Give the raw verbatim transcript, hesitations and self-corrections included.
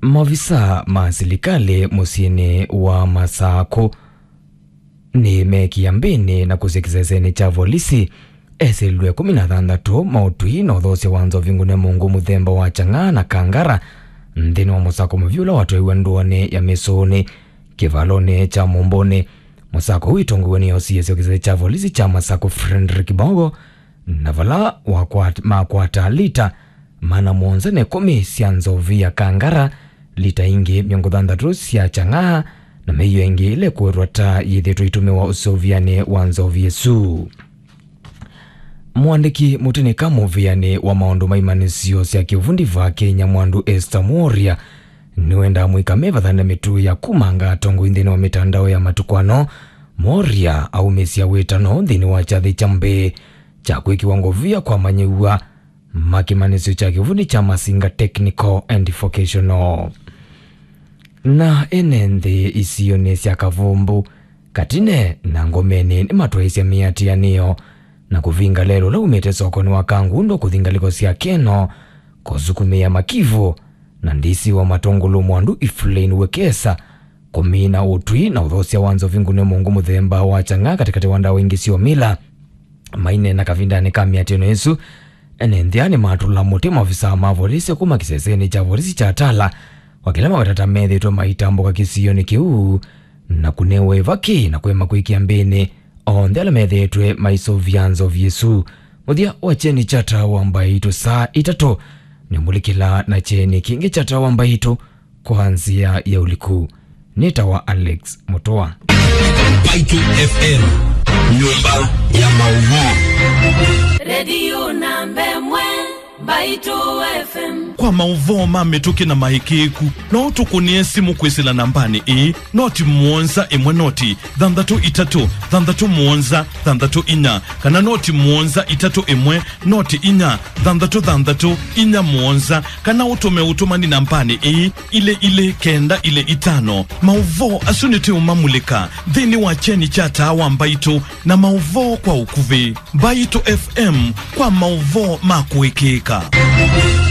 Maovisa ma silikalĩ mũsyĩnĩ wa Masakũ nĩmeekie mbĩnĩ na kũsya kĩsesenĩ kya volisi esĩlw'e ĩkũmi na thanthatũ ma ũtwi na ũthoosya wa nzovi ngune mũngũ mũthemba wa chang'aa na kangara nthĩnĩ wa mũsako mũvyũ ũla watwaiwe ndũanĩ ya Mĩsũnĩ kĩvalonĩ kya Mũmbũnĩ. Mũsako ũũ wĩtongoew'e nĩ O C S wa kĩsese kya volisi kya Masakũ Frederick Bogo, na vala wakwat-, makwata lita maana mũonza na ĩkũmi sya nzovi ya kangara, lita ingĩ mĩongo thanthatũ sya chang'aa, na mĩio ĩngĩ ĩla ĩkũĩtwa ta yĩthĩtwe ĩtũmĩwa ũseũvyanĩ wa nzovi ĩsu. Mũandĩki mũtĩnĩka mũvĩanĩ wa maũndũ ma imanĩsyo sya kĩuvundi va Kenya, Mwandu Esther Mworia, nĩwendaa mũika mevathane mĩtuo ya kumanga atongoi nthĩnĩ wa mĩtandao ya matukũ ano. Mworia aumĩsya wĩtano nthĩnĩ wa kyathĩ kya mbee kya kwĩkĩwa ngovia kwa amanyĩw'a ma kĩmanyĩsyo kya kĩuvundi kya Masinga Technical and Vocational. Na ene nthĩ isionĩ sya Kavumbu, Katine na Ngomeni nĩmatwaĩsye mĩatĩanĩo na kũvinga lelũ ũla umĩte sokonĩ wa Kangundo kũthi ngalĩko sya Keno kũsukumĩa Makivu na D C wa Matũngũlũ Mwandu Evelyn Wekesa kũmina ũtwi na ũthoosya wa nzovi ngune mũngũ mũthemba wa chang'aa katĩkatĩ wa ndawa ingĩ sya ũmila. Maineena kavindanĩ ka mĩatĩano ĩsu, ene nthĩ aa nĩmatũla mũtĩ maovisaa ma volisi kuma kĩsesenĩ kya volisi kya Tala, o kĩla maweta ta methĩĩtwe maitambũka kĩsionĩ kĩu na kũnewa ĩvaki na kũema kwĩkĩa mbĩnĩ onthe ala methĩĩtwe maisũvĩa nzovi ĩsu. Mũthya wa kyeni kya Taa wa Mbaitũ saa itatũ nĩmũlikĩla na kyeni kĩngĩ kya Taa wa Mbaitũ kwa nzĩa ya ũliku. Nĩtawa Alex Mũtũa. Mbaitũ F M, nyũmba ya maũvoo. Redio namba ĩmwe, Mbaitũ F M. Kwa maũvoo ma mĩtũkĩ na maĩkĩĩku, no ũtũkũnĩe simũ kwĩsĩla nambanĩ ĩĩ, noti mũonza ĩmwe noti thanthatũ itatũ thanthatũ mũonza thanthatũ inya, kana noti mũonza itatũ ĩmwe noti inya thanthatũ thanthatũ inya mũonza, kana ũtũme ũtũmani nambanĩ ĩĩ, ilĩ ilĩ kenda ilĩ itano. Maũvoo asu nĩtũũmamulĩka nthĩnĩ wa kyeni kya Taa wa Mbaitũ na maũvoo kwa ũkuvĩ. Mbaitũ F M kwa maũvoo ma kũĩkĩĩka.